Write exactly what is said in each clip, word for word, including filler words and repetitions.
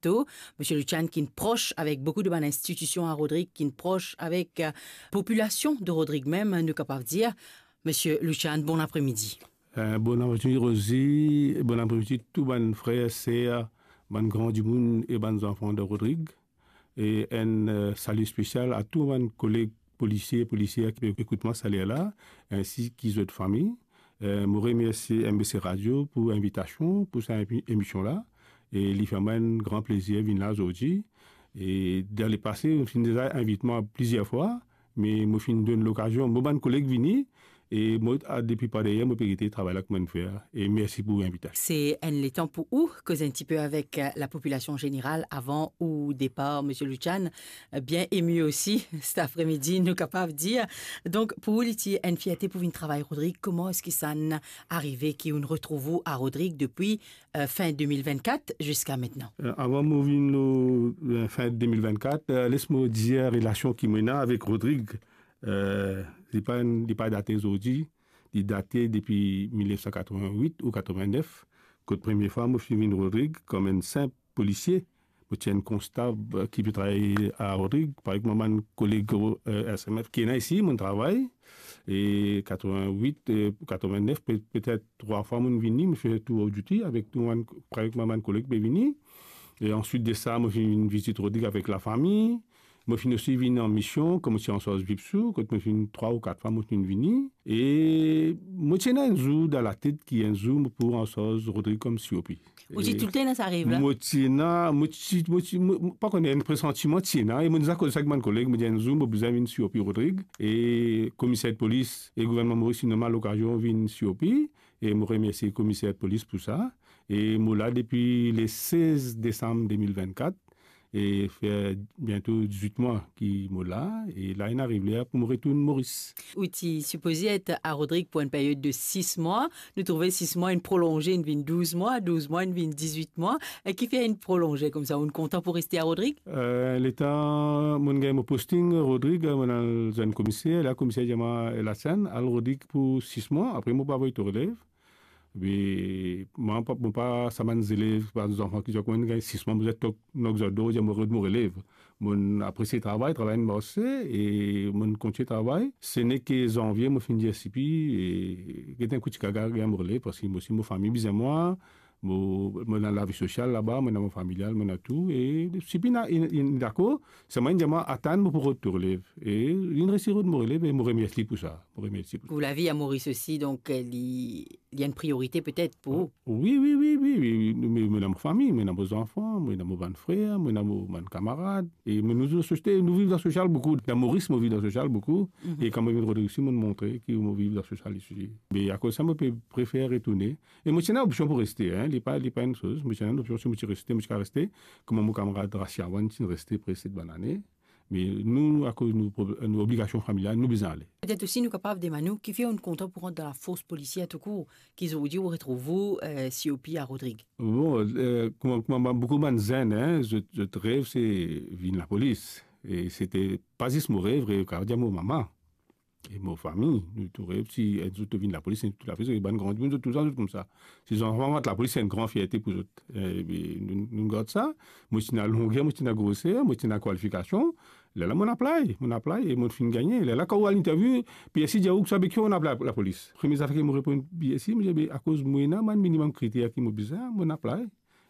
to, Misie Lucian, ki'nn pros avek boukou de bann institision a Rodrig, ki'nn pros avek, eh, popilasion de Rodrig mem, nou kapav dir. Misie Lucian, bon apremidi. Eh, bon apremidi, Rosie. Bon apremidi, tou bann frer, ser, bann gran dimoun e bann zanfan de Rodrig. E enn, eh, sali spesial a tou bann koleg polisie, polisier ki pe ekout mwa sa ler la, ensi ki zot fami. Eh, mo remersie M B C Radio pou invitasion, pou sa emi-, emision la. E li fer mwa enn gran plezir vinn la zordi. E dan lepase, zot finn deza invit mwa plizier fwa, me mo finn donn lokazion mo bann koleg vini, e mo, a, depi par deryer, mo pe gete travay la ki mo'nn fer, e mersi pou invitasion. Se enn letan pou ou koz enn tipe avek, eh, lapopilasion zeneral avan ou depar, Misie Lucian. Eh, bien emi osi, set apremidi, nou kapav dir. Donk, pou ou, li ti enn fierte pou vinn travay Rodrig. Kouma eski sa arive ki ou'nn retrouv ou a Rodrig depi, eh, fin de mil vennkat ziska aster? Eh, avan mo vinn, eh, fin de mil vennkat, eh, les mo dir relasion ki mo ena avek Rodrig. Eh, li pa enn, li pa date zordi, li date depi mil nef san katrovin-wit ou katrovin-nef, kot premie fwa mo finn vinn Rodrig kom enn sinp polisie. Mo ti enn konstab, eh, ki pe travay a Rodrig, parey kouma bann koleg, eh, S M F ki ena isi, mo'nn travay. E katrovin-wit, eh, katrovin-nef, pe-, petet trwa fwa mo'nn vini, mo fer tour of duty avek tou bann, parey kouma bann koleg pe vini. E answit de sa, mo finn vinn vizit Rodrig avek lafami. Mo finn osi vinn an mision, kan mo ti ansarz Vipsou, kot mo finn trwa ou kat fwa mo finn vini. E mo ti ena enn zour dan latet ki enn zour mo pou ansarz Rodrig kom C O P. Ou ti toultan ena sa rev la? Mo ti ena, mo ti, mo ti, mo, mo pa kone, enn presantiman ti ena, e mo deza koz sa ek bann koleg, mo dir enn zour mo bizin vinn C O P Rodrig. E komiser de polis e gouvernman Moris inn donn mwa lokazion vinn C O P, e mo remersie komiser de polis pou sa. E mo la depi le sez desam de mil vennkat, e fer biento dizwit mwa ki mo la, e la inn ariv ler pou mo retourn Moris. Ou ti sipoze et a Rodrig pou enn period de sis mwa, nou trouve sis mwa inn prolonze, inn vinn douz mwa, douz mwa inn vinn dizwit mwa, e kifer inn prolonze koumsa, ou'nn kontan pou reste a Rodrig? Eh, letan mo'nn gagn mo posting Rodrig, mo'nn al zwenn komiser, la komiser dir mwa, "Latchann, al Rodrig pou sis mwa, apre mo pou avoy to relev." Be, mwa pa, mo pa sa bann zelev, bann zanfan ki dir, "Kouma gagn sis mwa, mo bizin tok, nok zot dor, dir mo rod mo relev." Mo'nn apresie travay, travay inn marse, e mo'nn kontigne travay. Se neke zanvie, mo finn dir S P, e get enn kout ti gaga, gagn mo relev, parski mo osi mo fami bizin mwa, mo, mo ena lavi sosial laba, mo ena mo familial, mo ena tou, e S P inn, inn, inn dakor, selman inn dir mwa, "Atann, mo pou rod to relev." E linn resi rod mo relev, e mo remersie li pou sa. Mo remersie li pou sa. Pou lavi a Moris osi, donk, li, li enn priorite petet pou ou? Wi, wi, wi, wi, wi, wi. Mo, mo ena mo fami, mo ena mo zanfan, mo ena mo bann frer, mo ena mo bann kamarad. E mo, nou, nou sosial, nou viv dan sosial boukou. Dan Moris, mo viv dan sosial boukou. Mhm. E kan mo vinn Rodrig osi, mo'nn montre ki mo viv dan sosial isi. Me akoz sa, mo pe prefer retourne. E mo ti ena opsion pou reste, hein. Li pa, li pa enn soz. Mo ti ena enn opsion, si mo ti reste, mo ti kav reste. Kouma mo kamarad Rasiawan ti reste pre set bann ane. Me nou, akoz nou prob-, nou obligasion familial, nou bizin ale. Petet osi nou kapav demann ou, kifer ou'nn kontan pou rant dan lafors polisier toukour, ki zordi ou retrouv ou, eh, C O P a Rodrig? Bon, eh, kouma, kouma ba-, boukou bann zenn, hein, zot, zot rev se vinn lapolis. E sete pa zis mo rev, rev, kapav dir mo mama. E mo fami, nou tou rev, si enn zour to vinn lapolis, enn zour to lapolis, e bann gran dimoun, zot toultan zot koumsa. Si zanfan rant lapolis, se enn gran fierte pou zot. E, be, nou, nou gard sa. Mo ti ena longer, mo ti ena groser, mo ti ena kwalifikasion. Lerla mo'nn apply, mo'nn apply, e mo'nn finn gagne. Lerla kan ou al interview, P S I dir ou, "Kisannla ki ou'nn apply lapolis?" Premie zafer ki mo reponn P S I, mo dir, "Be, akoz mo ena bann minimum kriter ki mo bizin, mo'nn apply."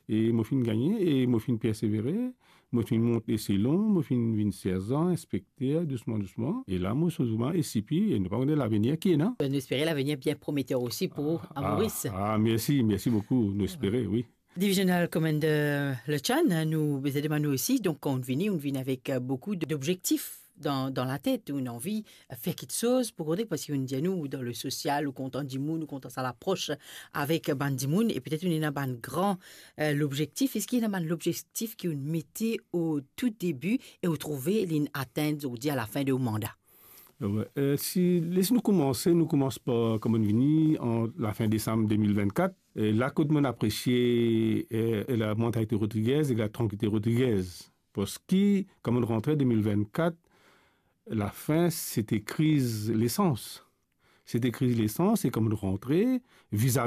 E mo finn gagne, e mo finn persevere, mo finn mont eselon, mo finn vinn serzan, inspekter, dousman, dousman. E la, mo sot zouman S C P, e nou pa kone lavenir ki ena. Nou espere lavenir bien prometer osi pou ou, a Moris. Ah, ah, mersi, mersi boukou. Nou espere, wi. Divisional Commander Lechan, nou bizin demann ou osi, donk, kan ou vini, ou vini avek, euh, boukou d-, d'obzektif dan, dan latet, ou ena anvi fer kiksoz pou Rodrig, parski ou dir nou, dan le sosial, ou kontan dimoun, ou kontan sa lapros avek bann dimoun, e petet ou ena bann gran, euh, lobzektif. Eski ena bann lobzektif ki ou mete o tou debi e ou trouve li'nn atenn, zordi, a lafin de ou manda? Wi, euh, si, les nou koumanse, nou koumans par, kouma nou vini, an lafin desam de mil vennkat, e la kot mo'nn apresie, euh, la mantalite rodrigez e la trankilite rodrigez. Parski, kan mo'nn rantre de mil vennkat, lafin, sete kriz lesans. Sete kriz lesans, e kan mo'nn rantre, vizavi